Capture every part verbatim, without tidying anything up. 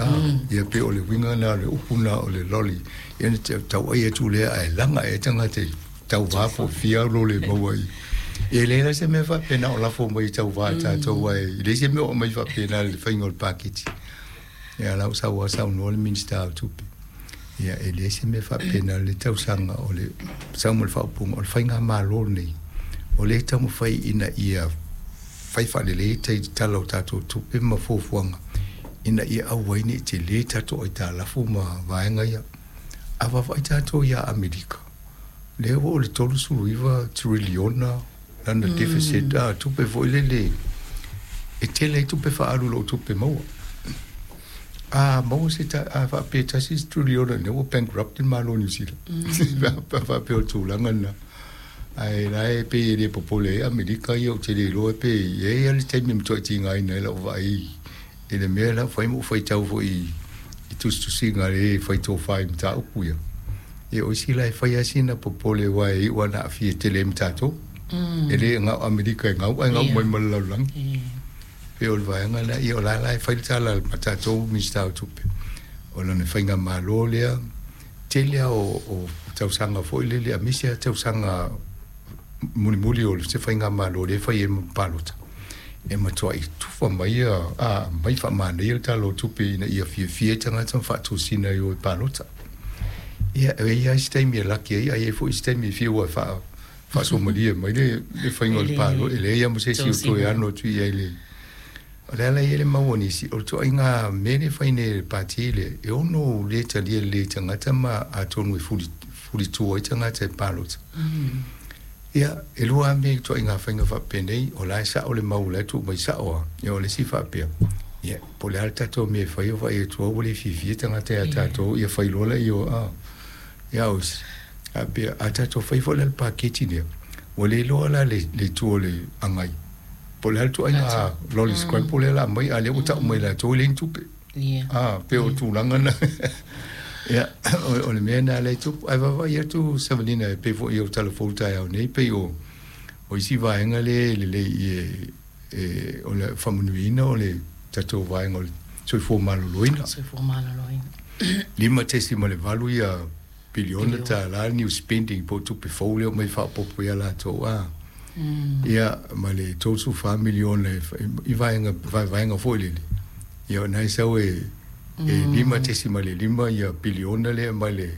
A ia pei o le uiga lena o le upu lena o le loli, ia na tauai atu lea ae laga ea tagata i tauva po o fia lo le maua i. E leai la se mea faapena o lafo mai i tauva e tatou ae e leai se mea o aumai faapena i le faiga o le paketi. Ia la ua sau lava saunoa le Minisita o Tupe, ia e leai se mea faapena i le tausaga o le sau ma le faaupuga o le faigamalo lenei o lea e taumafai ina ia fai faalelei tala o tatou tupe ma fuafuaga ina ia aua ai ne i tele tatou aitalafu ma vaega ia. A vaavaai tatou ia Amerika, lea ua oo i le tolusefulu iva triliona lana deficit, a tupe foi lele e tele ai tupe faaalu i lou tupe maua. A maua se a faapea e tasi se triliona lea ua bankrupt le Malo o Niu Sila. Faapea o le tulaga lena. Ae la e pei e le popole ai Amerika ia ou te le iloa pe i ai lava le taimi e matuai tigaina ai lau vaai i le mea la ua fai ma ou faitau foi i tusitusiga a le fai tofa i mataupu ia. Ia o isi la e fai lava sina popole aua e iu lava ina aafia tele ai ma tatou. E le na o Amerika e gau ae gau mai ma le lalolagi. Pei o le vaega lea, ia o la la e fai le tala a tatou Minisita o Tupe, o lana faigamalo lea, tele lava o, o tausaga foi lele, aemaise lava tausaga mulimuli o se faigamalo lea e fai ai ma palota, e matuai tufa mai a mai faamanaia le Tala o Tupe ina ia fiafia ai tagata ma faatosina e o e palota. Ia, e i ai lava isi taimi e laki ai, ae i ai foi isi taimi e fiu e faa faasomalia mai le, le faiga o le palota, e leai lava ma se isi o toe ano atu i ai le. O le ala e i ai le mau a nisi, o le ituaiga mea lea e fai nei e le Pati lea, e ono le talia lelei e tagata ma atonu e fuli, fulitua ai tagata e palota. Ia, e lua lava mea i ituaiga faiga faapenei, o la e sao le mau o la e tuu mai sao lava, ia o le isi faapea, ia, po o le a le tatou mea e fai o vaai atu lava ua le fiafia tagata ia tatou, ia fai loa laia o, a, ia o isi, faapea, a tatou fai foi la le paketi lea, ua le iloa la le, le itu o le agai, po o le a le ituaiga lolly scramble lea o le a aumai, a o lea ua tau mai e latou e leai ni tupe. A, pei o tulaga na. Ia, o, o le mea lena lea e tupu. Ae vaavaai atu Savalina e pei foi i au tala fou taeao nei, pei o, o isi vaega lea e lelei i e, e, o le faamanuiaina o le tatou vaega o le soifua maloloina. Soifua maloloina. Lima tesima le valu ia piliona tālā new spending po o tupe fou lea omai faaopoopo ia latou a. Ia ma le tolusefulu fa miliona e i vaega vaevaega foi lele. Ia o na e sau e e lima tesima le lima ia piliona lea mai le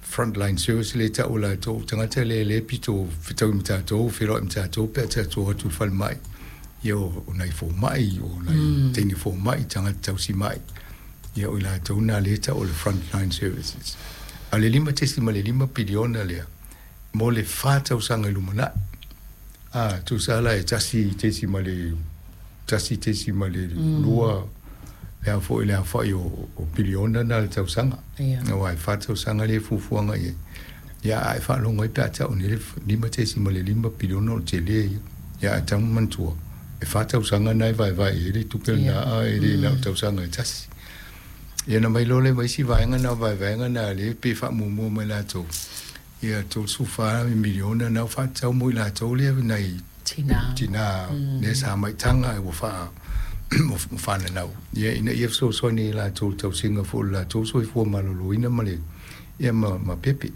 frontline service lea e tau e latou tagata lea lea e pito fetaui ma tatou feiloai ma tatou pe a tatou o atu i le falemai. Ia o nai fomai, o nai teine fomai, tagata tausimai. Ia o i latou na lea e tau o le frontline services. A o le lima tesima le lima piliona lea mo le fa tausaga i lumanai. A, tusa la e tasi tesima le tasi tesima le lua le a foi le aofai o, o piliona na le tausaga. Aua e fa tausaga lea e fuafuaga i ai. Ia, a e faalogo ai pe a tau nei le lima tesima le lima piliona o le tele ia. Ia, ae tatau ona manatua, e fa tausaga na e vaevae i ai le tupe lena, a e le na o tausaga e tasi. Ia ona mai loa lea ma isi vaega na o vaevaega na lea pe faamuamua mai latou, ia tolusefulu fa miliona na ua faatatau mo i latou lea nai Tina, tina lea sa maitaga ua faa ua fananau, ia ina ia fesoasoani i latou i le tausiga foi o le latou soifua maloloina ma le ia ma, ma pepe.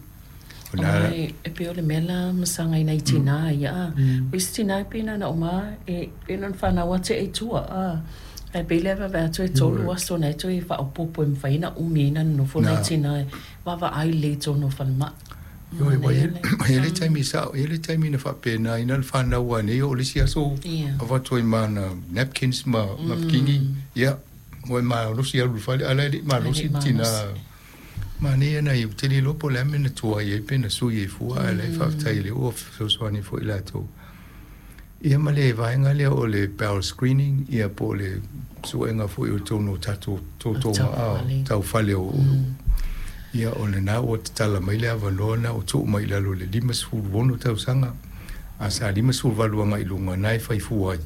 O na Ae e pei o le mea la masaga i nai tina ia a. O isi tina e pei na ona uma e pei na ona fanau atu e i tua a. Ae pei lea e vaavaai atu e tolu aso na e toe faaopoopo e mafai ona umi ai ona nonofo nai tina e vaavaai lelei i totonu o falemai. Ioe, ua i ai le taimi sao, e i ai le taimi na faapena ai na le fanau a nei oo le isi aso avatu ai ma ana napkins ma napkini, ia, ua e malosi alu i le fale, a o la e le i malosi le tina. Manaia nai, ou te le iloa po o le a le mea na tuai ai pe na sui ai fua, ae o la e faafetai o lea ua fesoasoani foi latou. Ia ma le vaega lea o le bowel screening, ia po o le suega foi o totonu o tatou totoga taufale o ia o lena ua tatala mai le avanoa lena ua tuu mai i lalo o le limasefulu ono tausaga, a sa limasefulu valu agai i luga na e fai fua ai.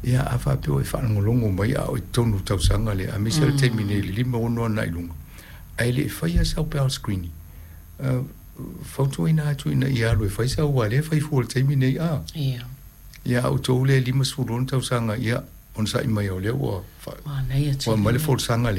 Ia a faapea ua e faalogologo mai a o i totonu o le tausaga lea, aemaise o le taimi nei i le lima ono agai i luga, ae le i faia sau bowel screening, fautuaina atu ina ia alu e fai sau aua o lea e fai fua i le taimi nei a. Ia a outou lea e limasefulu ono tausaga, ia onosai mai o lea ua ua aumai le folasaga lea.